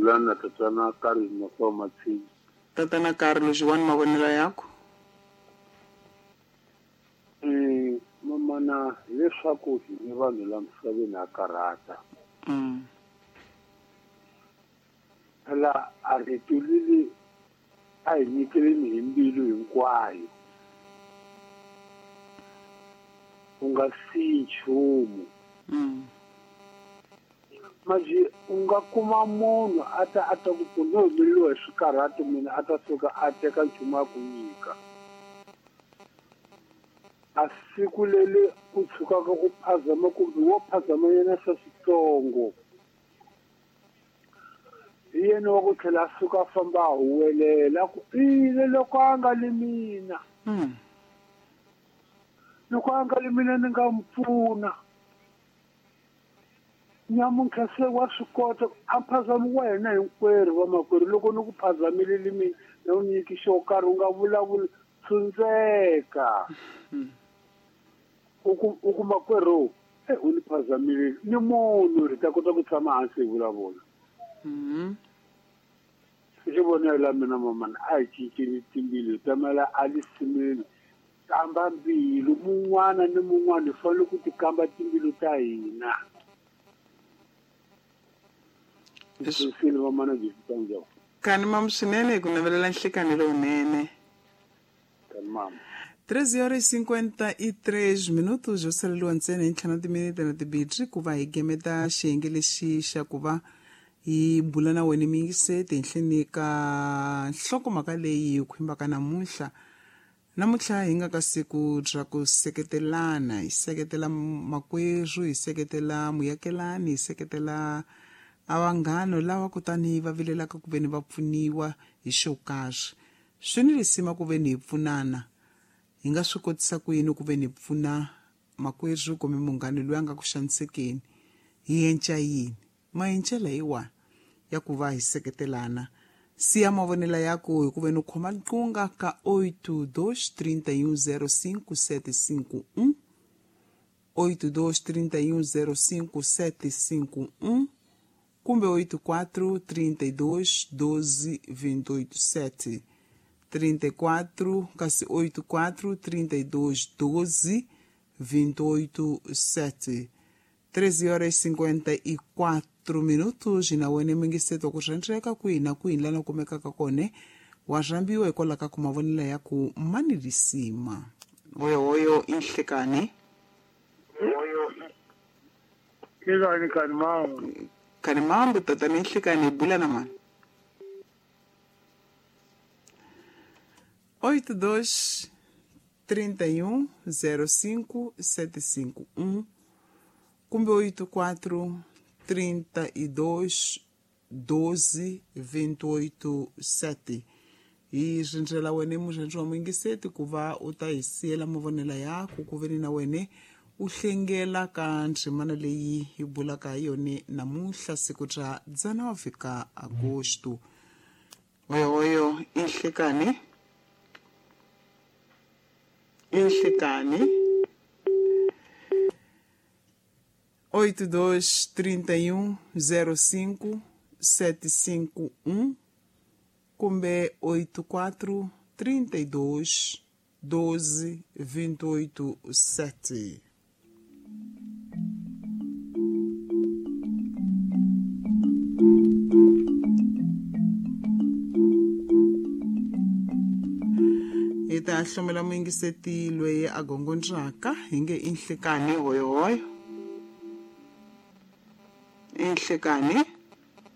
Bulana tatana Carlos Mafao Matsini. Tatana Carlos wani mavonelo yako. Mamana leswaku hi vanhu la misaveni a karhata. Phela a ri tulile a hi nyikeleni hi mbilu hinkwayo. U nga siyi nchumu. Manje u nga kuma munhu a ta ku pfuna no humeleriwa hi swikarhato mina a ta suka a teka nchumu a ku nyika. A siku leli u tshukaka ku phazama kumbe wo phazama yena swa switsongo. Hi yena wa ku tlhela a suka a famba a huwelela ku ile loko a nga li mina. Loko a nga li mina ni nga n'wi pfuna. Nyamuntlha se wa swi kota a phazami wa hina hinkwerhu vamakwerhu loko ni ku phazamile mina na u nyiki xo karhi u nga vulavuli tshundzeka. U ku makwerhu u ni phazamile ni munhu ri ta kota ku tshama hansi hi vulavula. Xi vonela mina mamana a hi cinceni timbilu hi tamela a lisimeni kamba mbilu mun'wana ni mun'wana hi fanele ku ti kamba timbilu ta hina. Kani mamu swinene hi ku navelela nhlikani lowunene. 13:53 minutos yo saleliwa ntsena hi ntlhanu timinete na tibitri ku va hi gemeta xiyenge lexi xa ku va hi bula na wena miyingiseti henhleni ka nhlokomhaka leyi hi khumbaka namuntlha. Namuntlha hi nga ka siku ra ku seketelana, hi seketela makwerhu, hi seketela muyakelani, hi seketela a vanghano lava kutani va vilelaka ku veni va pfuniwa hi xo karhi. Swi ni lisima ku veni hi pfunana. Hi nga swi kotisa ku yini ku veni hi pfuna makwerhu kumbe munghana loyi a nga ku xanisekeni? Hi enca yini? Maencela hi wa ya ku va hi seketelana. Siya mavonelo yako hi ku veni u khoma nqunga ka 823105 751 823105 751 kumbe 84 32 12 28 7 34 kasi 84 32 12 28 7. 13:54 minutos na wena mingiseto ku rhendreka kwihi na kwihi lana kumekaka kone wa rhambiwa hikwalaho ka ku mavonelo ya ku mani risima. Hoyo inhlekani. Kani kani mambo. Kani mambo tata ni inhlekani bula na mani. 82 31 05 751 kumbe 84 32 12 28 7. Hi rindzela wena murhandzi wa muyingiseti ku va u ta hi siyela mavonelo yako ku veni na wena u hlengela ka ndzimana leyi hi bulaka hi yona namuntlha siku ra 19 ka Agosto. Oyo inhlekani. Inhlekani. 82 31 05 751 kumbe 84 32 12 28 7. Hi ta hlomela muyingiseti loyi a gongondzaka hi nge inhlekani hoyohoyo. Inhlekani.